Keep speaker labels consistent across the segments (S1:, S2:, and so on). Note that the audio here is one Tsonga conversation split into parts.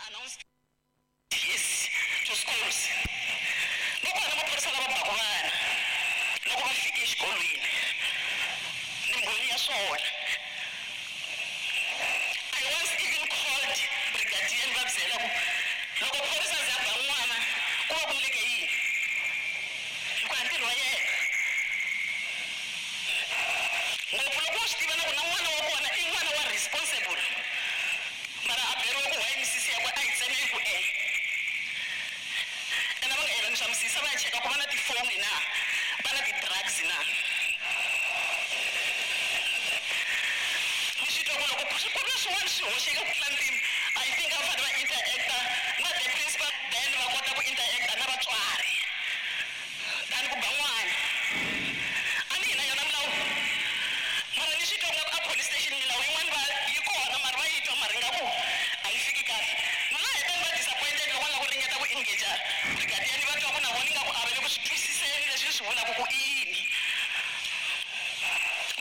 S1: announced yes to schools. Va kona maphorisa lava baku vana loko va fike exikolweni ni mbhoni ya swona. I once even called brigadier ni va byela ku loko phorisa za ba n'wana ku va ku endleke yini hikuva ntirho wa yena ngopfu loko wa swi tiva na ku na n'wana wa kona i n'wana wa responsible mara a beriwe ku why misisi yakwe a yi tseme ku e ene va nga endla swa misisi va ya cheka ku va na tifoni na va na ti-drugs na ni swi twa ku loko ku ri na swin'wana swi hoxeke ku tlula mpimo I think a va fanele va interacta na the principal then va kota ku interacta na vatswari than ku ba n'wana a ni hi na yona milawu mara ni swi twa nga ku a police station milawu yin'wana va yi kona mara va yi twa mara ingaku a yi fiki kahle na heta ni va disappointed loko va lava ku ringeta ku engage brigadier ni va twa ku na vona ingaku a va le ku swi twisiseni leswi ni swi vulaka ku i yini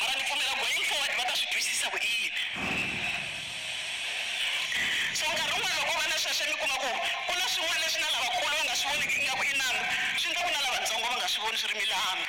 S1: mara ni pfumela going forward va ta swi twisisa ku i yini so nkarhi wun'wana loko va na sweswo mi kuma ku ku na swin'wana leswi na lavakulu va nga swi voniki ingaku i nandzu swi endla ku na lavatsongo va nga swi voni swi ri milandzu.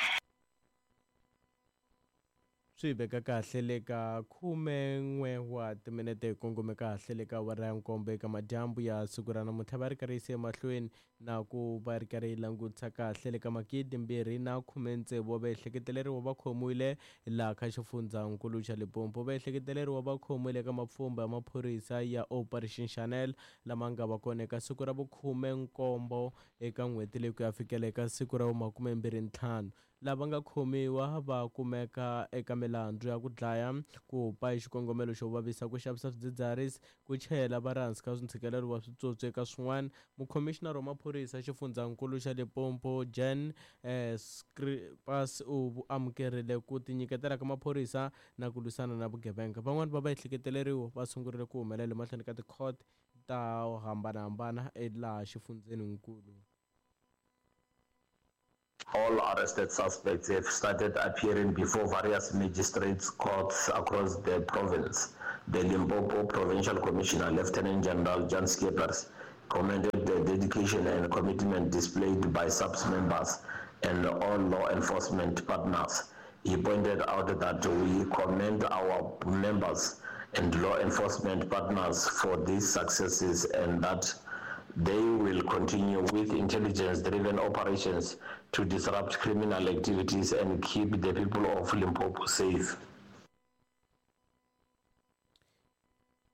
S2: Swi veka kahle le ka 11 wa timinete hi kongome kahle le ka awara ya nkombo eka madyambu ya siku ra namuntlha va ri karhi yise emahlweni na ku va ri karhi yi langutisa kahle le ka 2016 wa vaehleketeleriwa va khomiwile laha ka xifundzankulu xa Limpopo. Vaehleketeleriwa va khomiwile eka mapfhumba ya maphorisa ya Operation Shanel lama nga va kona eka siku ra vukhume nkombo eka n'hweti leyi ku ya fikela eka siku ra vumakume mbirhi ntlhanu. Lava nga khomiwa va kumeka eka milandzu ya ku dlaya, ku ba hi xikongomelo xo vavisa, ku xavisa swidzidziharisi, ku chayela va ri hansi ka ntshikelelo wa switsotsi eka swin'wana. Mukhomixinara wa maphorisa xifundzankulu xa Limpopo Jan Schippers u amukerile ku tinyiketela ka maphorisa na ku lwisana na vugevenga. Van'wana va vaehleketeleriwa va sungurile ku humelela emahlweni ka tikhoto ta hambanahambana laha xifundzeninkulu.
S3: All arrested suspects have started appearing before various magistrates' courts across the province. The Limpopo Provincial Commissioner, Lieutenant General Jan Schippers, commended the dedication and commitment displayed by SAPS members and all law enforcement partners. He pointed out that we commend our members and law enforcement partners for these successes and that they will continue with intelligence-driven operations to disrupt criminal activities and keep the people of Limpopo safe.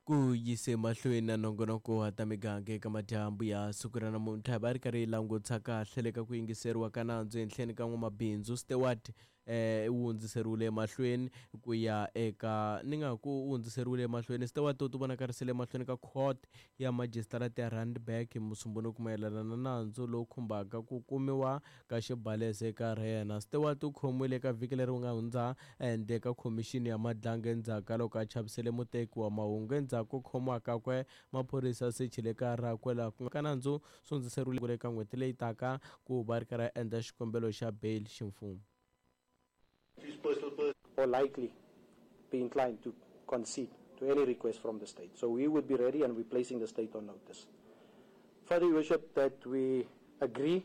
S2: Ku yise mahlweni na nongonoko wa ta miganga eka madyambu ya siku ra namuntlha va ri karhi yi langutisa kahle le ka ku yingiseriwa ka nandzu ehenhleni ka n'wamabindzu Stewart wu hundziseriwile emahlweni ku ya eka ni nga ku wu hundziseriwile emahlweni Stewart u tivonakarisile emahlweni ka court ya majisitarata ya Randburg hi Musumbhunuku mayelana na nandzu lowu khumbaka ku kumiwa ka xibalesa eka yena. Stewart u khomiwile eka vhiki leri nga hundza ehandle ka khomixini ya Madlanga endzhaku ka loko a chavisele muteki wa mahungu. Endzhaku ko khomiwa kakwe, maphorisa sechile kaya rakwe laha ku nga ka nandzu swi hundziseriwile eka n'hweti leyi taka ku va ri karhi a endla xikombelo xa bail ximfumo.
S4: Or likely be inclined to concede to any request from the state. So we would be ready and we're placing the state on notice. Further, Your Worship, that we agree,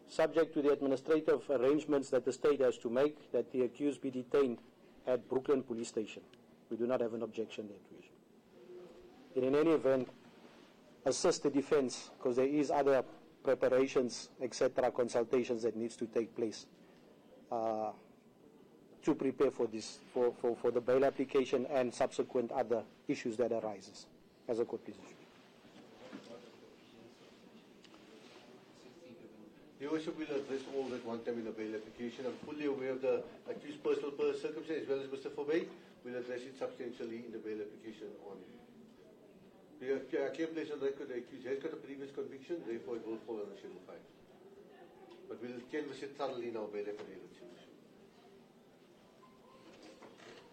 S4: subject to the administrative arrangements that the state has to make, that the accused be detained at Brooklyn Police Station. We do not have an objection there, Your Worship. And in any event, assist the defense, because there is other preparations, etc., consultations that needs to take place to prepare for this, for the bail application and subsequent other issues that arises as a court decision.
S5: Your Worship, will address all that one time in the bail application. I'm fully aware of the accused personal circumstances as well as Mr. Forbey. We'll address it substantially in the bail application on. The clear place on record, the accused has got a previous conviction, therefore it will fall under Schedule 5. But we'll canvass it thoroughly in our bail affidavit.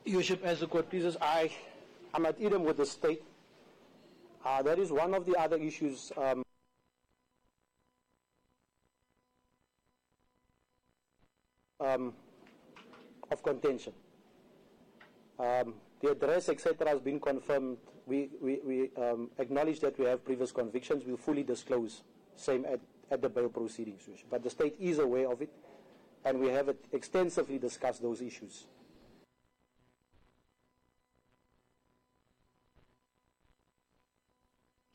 S4: Your Worship, as the court pleases, I'm at idem with the state. That is one of the other issues. Of contention. The address, etc., has been confirmed. We acknowledge that we have previous convictions. We'll fully disclose same at the bail proceedings, Your Worship. But the state is aware of it, and we have extensively discussed those issues.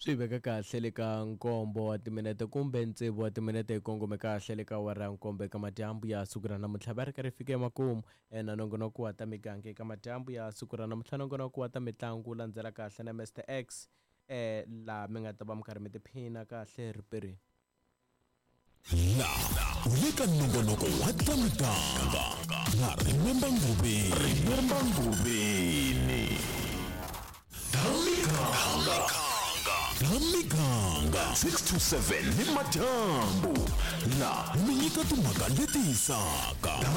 S2: Swi veka kahle le ka nkombo wa timinete kumbe tsevu wa timinete hi kongome kahle le ka awara ya nkombo eka madyambu ya siku ra namuntlha. Va ri karhi fika emakumu na nongonoko wa ta miganga eka madyambu ya siku ra namuntlha. Nongonoko wa ta mitlangu landzela kahle na Mr X, laha mi nga ta va mi karhi mi tiphina kahle riperini.
S6: La u le ka nongonoko wa ta miganga na Remember Ngubeni. Remember Ngubeni. Ta miganga. Ta miganga 6 to 7 ni madyambu. La mi nyika timhaka leti hisaka.